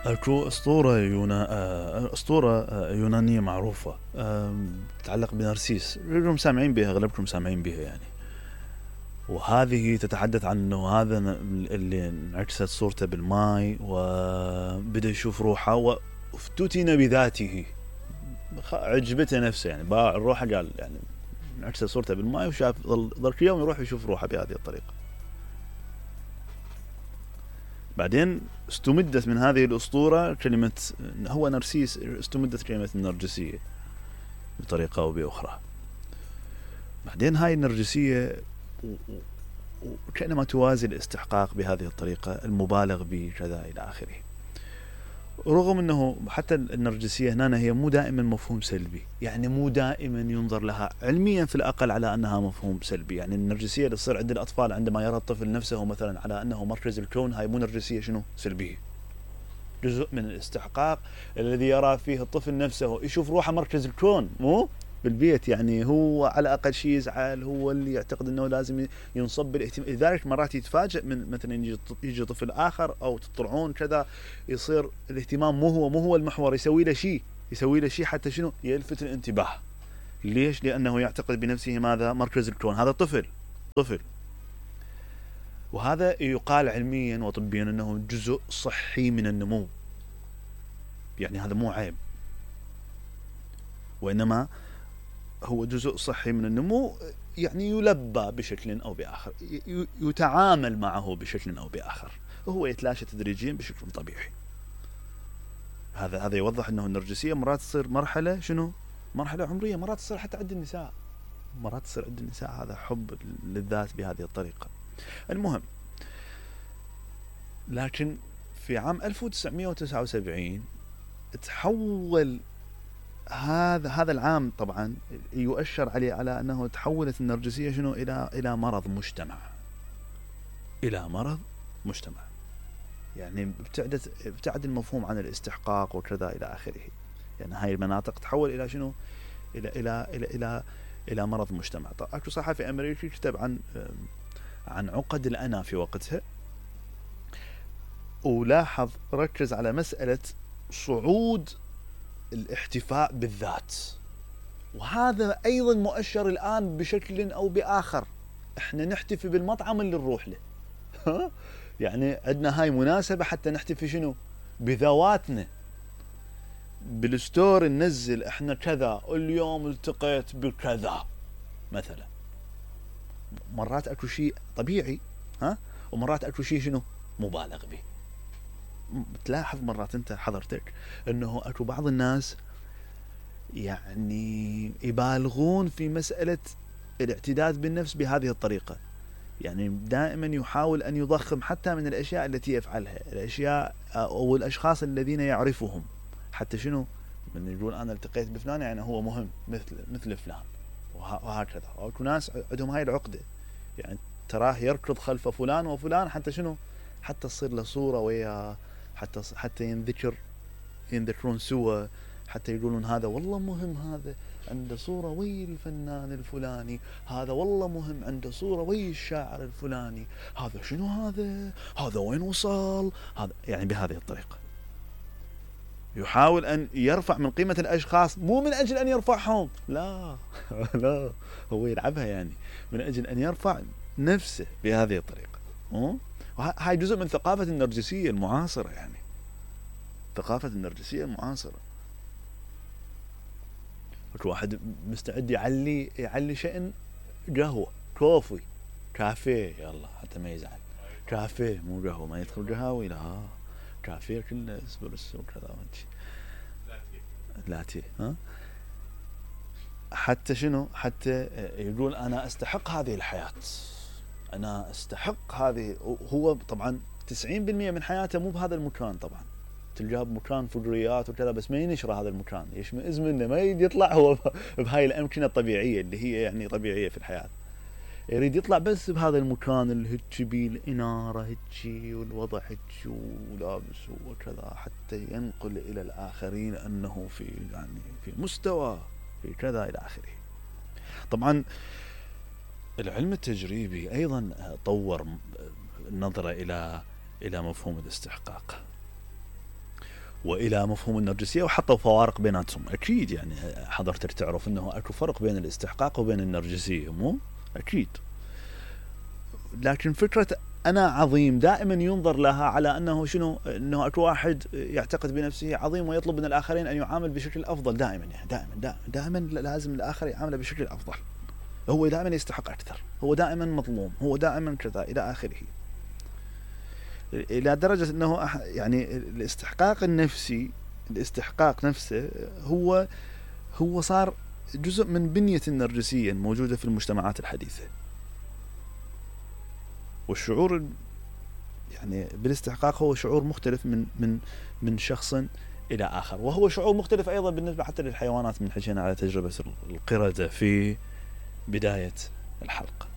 اكو اسطورة يونانية معروفة تتعلق بنرسيس، كلكم سامعين بها، اغلبكم سامعين بها يعني. وهذه تتحدث عن انه هذا اللي انعكست صورته بالماء وبدأ يشوف روحه وافتتن بذاته، عجبته نفسه يعني، باع الروحه، قال يعني انعكست صورته بالماء وشاف ظل كل يوم يروح يشوف روحه بهذه الطريقة. بعدين استمدت من هذه الأسطورة كلمة، هو نرسيس، استمدت كلمة النرجسية بطريقة أو بأخرى. بعدين هاي النرجسية وكأنما توازي الاستحقاق بهذه الطريقة المبالغ بكذا إلى آخره. رغم أنه حتى النرجسية هنا هي مو دائما مفهوم سلبي، يعني مو دائما ينظر لها علميا في الأقل على أنها مفهوم سلبي. يعني النرجسية اللي تصير عند الأطفال عندما يرى الطفل نفسه مثلا على أنه مركز الكون، هاي مو نرجسية شنو سلبية، جزء من الاستحقاق الذي يرى فيه الطفل نفسه، يشوف روحه مركز الكون مو بالبيت، يعني هو على أقل شيء يزعل، هو اللي يعتقد أنه لازم ينصب بالاهتمام. لذلك مرات يتفاجئ من مثلا يجي طفل آخر أو تطلعون كذا، يصير الاهتمام مو هو المحور، يسوي له شيء حتى شنو يلفت الانتباه. ليش؟ لأنه يعتقد بنفسه ماذا؟ مركز الكون. هذا طفل. وهذا يقال علميا وطبيا أنه جزء صحي من النمو، يعني هذا مو عيب، وإنما هو جزء صحي من النمو، يعني يلبى بشكل أو بآخر، يتعامل معه بشكل أو بآخر، وهو يتلاشى تدريجيا بشكل طبيعي. هذا يوضح أنه النرجسية مرات تصير مرحلة شنو؟ مرحلة عمرية، مرات تصير حتى عند النساء، هذا حب للذات بهذه الطريقة. المهم، لكن في عام 1979 تحول هذا العام، طبعا يؤشر عليه على أنه تحولت النرجسية شنو إلى مرض مجتمع، يعني ابتعد المفهوم عن الاستحقاق وكذا إلى آخره. يعني هاي المناطق تحول إلى شنو؟ إلى مرض مجتمع. طبعا أكو صحفي أمريكي كتب عن عقد الأنا في وقتها، ولاحظ ركز على مسألة صعود الاحتفاء بالذات، وهذا أيضا مؤشر الآن بشكل أو بآخر. احنا نحتفي بالمطعم اللي نروح له يعني عندنا هاي مناسبة حتى نحتفي شنو؟ بذواتنا. بالستور ننزل احنا كذا، اليوم التقيت بكذا مثلا. مرات اكو شيء طبيعي ومرات اكو شيء شنو مبالغ به. تلاحظ مرات انت حضرتك انه اكو بعض الناس يعني يبالغون في مسألة الاعتداد بالنفس بهذه الطريقة، يعني دائما يحاول أن يضخم حتى من الأشياء التي يفعلها، الأشياء أو الأشخاص الذين يعرفهم، حتى شنو من يقول أنا التقيت بفلان يعني هو مهم مثل فلان، وهكذا. وأكو ناس عندهم هاي العقدة، يعني تراه يركض خلف فلان وفلان حتى شنو، حتى تصير له صورة وياه، حتى ينذكرون سوا، حتى يقولون هذا والله مهم، هذا عنده صورة ويا الفنان الفلاني، هذا والله مهم عنده صورة ويا الشاعر الفلاني، هذا شنو، هذا وين وصل، هذا يعني بهذه الطريقة يحاول أن يرفع من قيمة الأشخاص، مو من أجل أن يرفعهم، لا لا، هو يلعبها يعني من أجل أن يرفع نفسه بهذه الطريقة. وهاي جزء من ثقافة النرجسية المعاصرة، يعني ثقافة النرجسية المعاصرة. اكو واحد مستعد يعلي شأن قهوة، كوفي، كافيه، يلا حتى ما يزعل، كافيه مو قهوة، ما يدخل قهاوي، لا كافيه كله اسبريسو وكذا وهيك، لاتيه حتى شنو، حتى يقول أنا أستحق هذه الحياة، أنا أستحق هذه. هو طبعا 90% من حياته مو بهذا المكان، طبعا تلقاه بمكان فجريات وكذا، بس ما ينشر هذا المكان، يشمئز منه، ما يريد يطلع هو بهاي الأمكنة الطبيعية اللي هي يعني طبيعية في الحياة، يريد يطلع بس بهذا المكان اللي هيك بيه الإنارة هيك والوضع هيك ولابس وكذا، حتى ينقل إلى الآخرين أنه في مستوى في كذا إلى آخره. طبعا العلم التجريبي أيضا طور النظرة إلى مفهوم الاستحقاق، والى مفهوم النرجسيه، وحطوا فوارق بيناتهم. اكيد يعني حضرتك تعرف انه اكو فرق بين الاستحقاق وبين النرجسيه، مو اكيد. لكن فكره انا عظيم دائما ينظر لها على انه شنو، انه اكو واحد يعتقد بنفسه عظيم ويطلب من الاخرين ان يعامل بشكل افضل دائما، يعني دائما لازم الاخر يعامله بشكل افضل، هو دائما يستحق اكثر، هو دائما مظلوم، هو دائما كذا الى اخره، الى درجه انه يعني الاستحقاق النفسي، الاستحقاق نفسه هو صار جزء من بنية النرجسية الموجودة في المجتمعات الحديثة. والشعور يعني بالاستحقاق هو شعور مختلف من شخص إلى آخر، وهو شعور مختلف أيضا بالنسبة حتى للحيوانات. من حكينا على تجربة القردة في بداية الحلقة.